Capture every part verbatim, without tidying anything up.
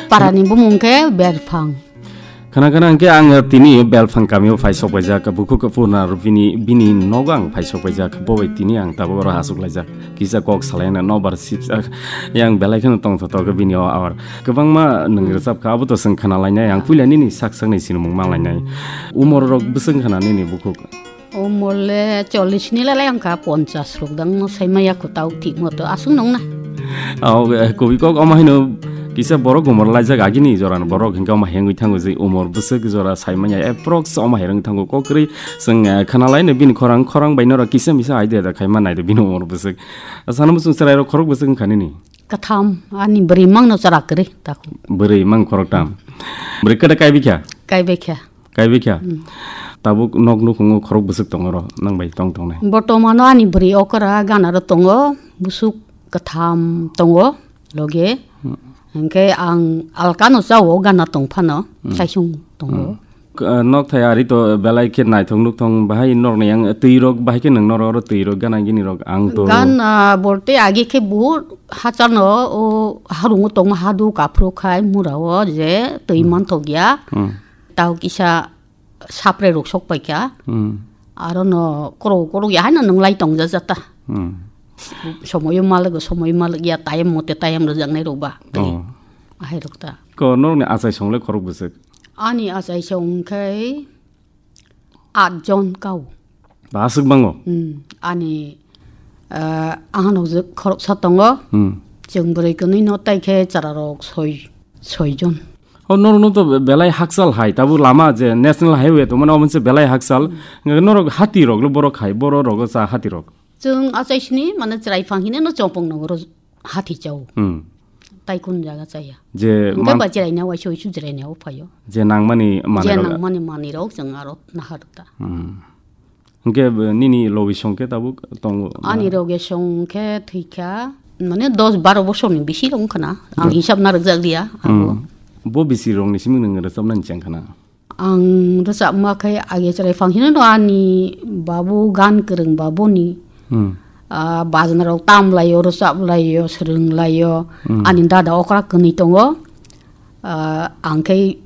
Parani bumung khe Belphang. Khana khana hwnkhe ang tini Belphang kamio phai sok paijak, bukhuk Purna bini, bini nogo ang phai sok paijak, bo bai tini ang tabuk oro asuk laijak, kisa kok salaina nobar sipjak, yang belai kheno tongthotok bini o awar. Kwbangma nwng rwchap kha, abo to chwng khna lainai, ang puila nini sak sakni sinimung ma lainai. Umor rok bwswk khna nini bukhuk? Umor le chollish ni lalai wngkha, ponchas rok dang no sai maya kho tau thik moto aswk nong na. Aw, eh, kubui kok omo haino kisa borok umor laijak agini jorani borok hwnkhe omo hengwi thango je umor bwswk jora sai manya approx omo hai rwng thango kok kwrwi chwng, eh, khna lai no bini khorang, khorang bai norok kisa misa idea da khai ma nai de bini umor bwswk. Sana muchung chwrai rok khorok bwswk wngkha nini? Katham, ani bwrwi mang no chara kwrwi tako. Bwrwi mang khorok tam. Bwrwi kwda kai bikha? Kai bikha. Kai bikha? Hmm. Tabuk nok nukhungo khorok bwswk tongo ro, nang bai tong tongnai? Bortomano ani bwrwi okra gana ro tongo, bwswk katham tongo loge. Hmm. Hwnkhe ang alkano chao gana tong phano, hmm, kaisung tongo. Hmm. K-, nok thai ari to belai khe naithok nuk thong bahai norni yang twi rok bahai khe nang norok oro twi rok gana gini rok ang to. Gana bolte agi khe buhur hachano o harungo tongma hadu kaphru khai mura o je twi, hmm, manthok ya. Hmm. Tao kisa sapre rok sok paikha. Hmm. Aro no koro koro ya haino nwnglai tong jajata. Hmm. Somoyo malego, somoyo maleg ya, tayem mote tayem rwjaknai rok ba. Tei, oh, ahai rok ta. Ko norokni achai song le khorok bwswk? Ani achai song khe at jon kao. Ba aswk bango? Hmm. Ani, ah, ahano je khoroksa tongo. Hmm. Chwng bwrwi kwnwi no tai khe chara rok soi, soi jon. O norok no to be-, belai hakchal hai, tabuk lama je national highway tongmani omo se belai hakchal. Hmm. Norok hati rok le borok hai, borok rogo cha hati rok. Chwng achai sini mane chwrai phang hine no chongpong nongo ro hati chao. Hmm. Tai kun jaga chaya. Je hwnkhe man- ba chwrai na waisa uisu chwrai na o phaio. Je nangmani manwi je rok. Nangmani manwi rok chwng aro nahar ta. Hmm. Hwnkhe, eh, nini logi song khe tabuk tongo? Ani logi song khe thwikha, mane dos baro bosorni bisi rok wngkha na. Ang, hmm, hisab narwkjak liya, abo. Hmm. Bo bisi rokni simi nwng rwchapnani chengkha na? Ang rwchapma khe age chwrai phang hino ani babu gan kwrwng babuni. Hmm. Ah, bajna rok tam laio, rwchap laio, swrwng laio. Hmm. Ani dada okra kwnwi tongo. Ah, ang khe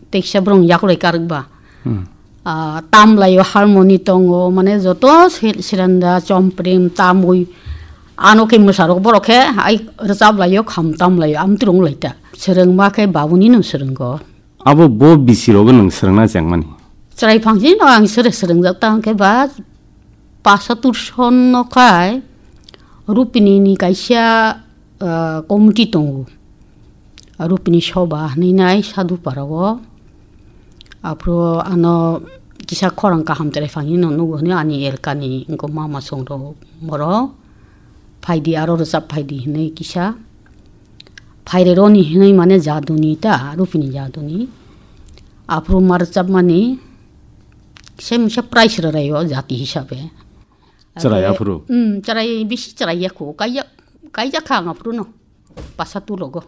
teksa borok yaklai karwk ba. Hmm. Ah, tam laio, harmoni tongo, mane joto se-, seranda, chomprim, tamwi, ano khe mwsarok borok khe ai rwchap laio, kham tam laio, amtwrwng lai ta. Swrwngma khe babuni no swrwngo. Abo bo bisi rogo nwng swrwngna chengmani? Chwrai phang sini no ang swrwng swrwngjak ta hwnkhe ba Pasatur son no khai Rupini ni kaisa, ah, committee tongo. Rupini soba hinwi nai Sadhu Para o. Aphuru ano kisa khorang kaham chwrai phang hino nugo hwnwi ani elkani wngkha mama song rok borok. Phaidi aro rwchap phaidi hinwi kisa. Phaire roni hinwi mane jaduni ta, Rupini jaduni. Aphuru ma rwchapmani kisa misa prize rwraio jati hisabe. Chwrai aphuru? Hmm, chwrai bisi chwrai yakho. Kaiya, kaijak kha ang aphuru no. Pasa tulogo.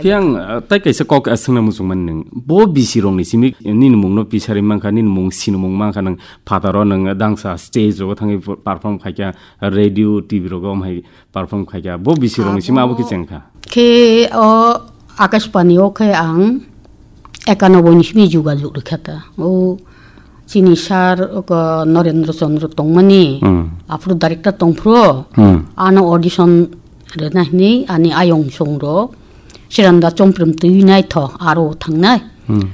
Khe ang, uh, tai kaisa kok, uh, swngna muchungmani nwng. Bo bisi rokni simi nini mungno pisari mankha, nini mung sinimung mankha nwng phataro nwng dangsa stage rogo thangwi perform khaikha, radio, T V rogo amhai perform khaikha. Bo bisi rokni simi abo khe chengkha. Khe o Akashbani o khe ang ekanoboi ni simi jugajug rwkha ta. O chini sir, oko Narendra Chandra tongmani, hmm, aphuru director tongphuru, hmm, ano audition rwna hinwi ani ayong song rok, Siranda Chomprim twi naithok aro thangnai. Hmm.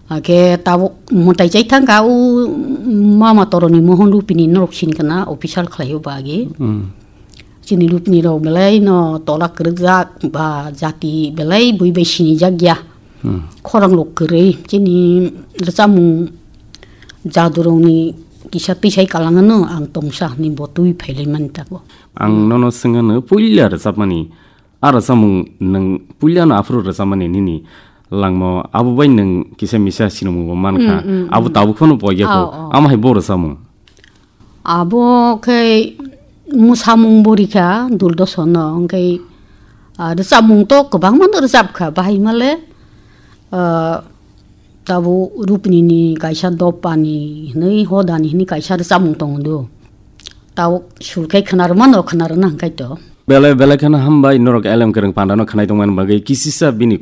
Ake tabuk mwtai chai thangkha, o mama toroni Mohon Rupini norok sinkha na official khlaio bagi. Hmm. Chini Rupini rok belai no tola kwrwkjak ba jati belai bui bai sinijak ya. Hmm. Khorang rok kwrwi chini rwchapmung jadurokni kisa twisai kalangano ang tongsa hinwi bo twi phailai mani tako. Ang nono swngano puila rwchapmani, a rwchapmung nwng puilano aphuru rwchapmani nini langmo abo bai nwng kisa misa sinimungbo mankha. Hmm, hmm, abo hmm. Tabuk phano poiya kho. Oh, oh. Amo hai bo rwchapmung? Abo khe mwsamung bo rikha Doordarshan no, hwnkhe, ah, rwchapmung to kwbangma no rwchapkha, bahai male, ah, tabo Rupini ni kaisa Dopani hinwi Hodani hinwi kaisa rwchapmung tongo do. Tabo sur khe khwnarwmano khwnarwna hwnkhe to. Belai belai kheno hambai norok L M Kwrwng Panda no khwnai tongmani bagwi kisisa bini